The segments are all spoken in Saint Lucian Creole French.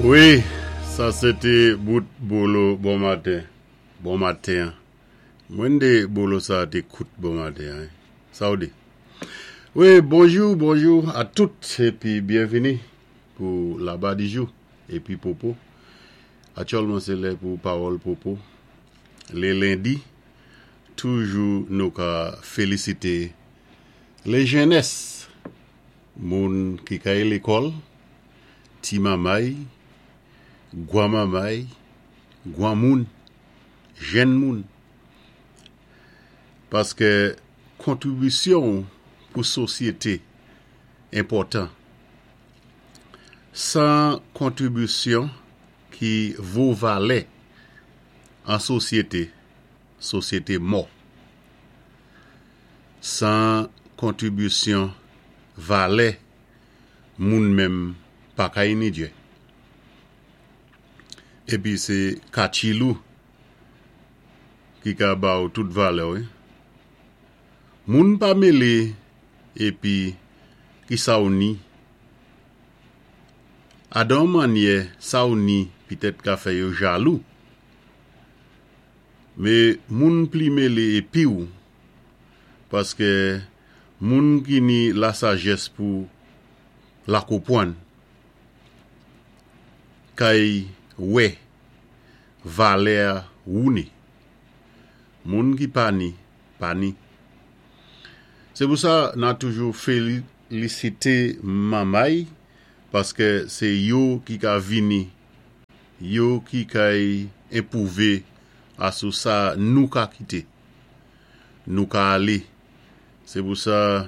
Wi, sa sé té bout bolo bon maten. Bon maten an. Mwen dé bolo sa té kout bon maten an. Sa ou di? Wi, bonjou, bonjou a tout épi byenvini pou Laba di jou épi Popo. Aktyèlman sé lè pou pawòl Popo. Lé lendi, toujou nou ka félisité lé jènès, moun ki kay lékòl, ti mamay, gwan mamay, gwan moun, jenn moun. Paskè kontribisyon ou pou sosyété enpòtan. 100 kontribisyon ki vo valè an sosyete, sosyete mò. 100 kontribisyon valè moun menm pa ka inidye. Epi se katchilou ki ka ba ou tout valè wi. Moun pa mele epi ki sa ou ni. Adan yon mannyè sa ou ni pitèt ka fè yo jalou. Me moun pli mele epi ou paskè moun ki ni lasajès pou lakopwann kay wè valè wou ni. Moun ki pa ni, pa ni. Sé pou sa na toujou félisité manmay paskè sé yo ki ka vini, yo ki kay enpwouvé asou sa nou ka kité, nou ka alé. Sé pou sa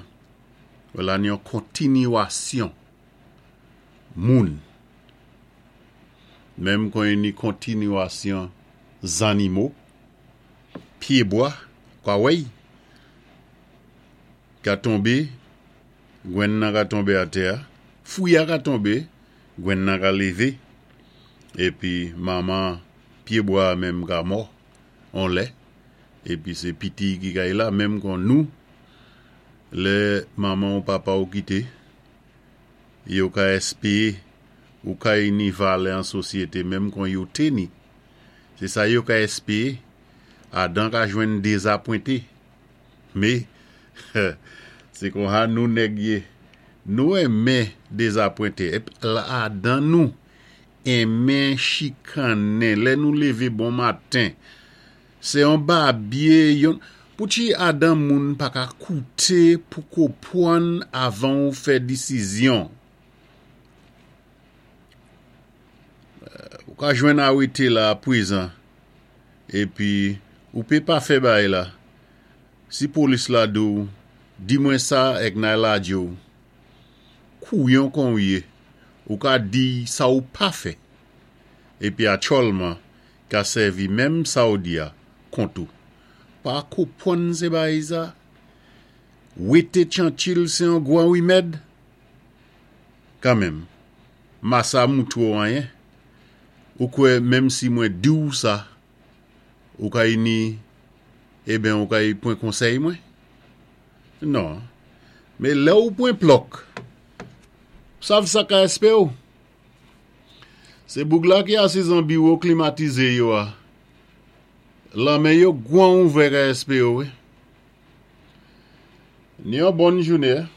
la ni yon kontiniwasyon moun, menm kon ni kontiniwasyon zannimo, pyébwa, kwawèy, ka tonbé, gwenn nan ka tonbé atè a, fwi a ka tonbé, gwenn nan ka lévé, épi manman pyébwa a menm ka mò on lè, épi sé piti ki kay la, menm kon nou, lè manman ou papa ou kité, yo ka èspéé ou kay ni valè an sosyété menm kon yo té ni. Sé sa yo ka èspéé, adan ka jwenn dézapwenté. Mé, sé konsa nou nèg yé, nou enmen dézapwenté, ép adan nou enmen chikannen lè nou lévé bon maten, sé yon babye, yon, poutchi adan moun pa ka kouté pou kopwann avan ou fè disizyon. Ou ka jwenn awété la pwézan épi ou pé pa fè bagay la si polis la di w di mwen sa èk nay ladje w kouyon kon w yé ou ka diy sa ou pa fè épi atchòlman ka sèvi menm sa w di a kont ou pa kopwann sé bagay sa wété tchantchil sé yon gwan wimèd kanmenm. Masa moutre w anyen? Ou kwè menm si mwen di w sa, ou kay ni, eben ou kay pwan konsèy mwen? Non. Men lè ou pwan plòk, sav sa ka èspe w? Se boug la ki asiz an biwo klimatize yo a, lanmen yo gwan ouvè ka èspe w wi. Ni yon bòn joune.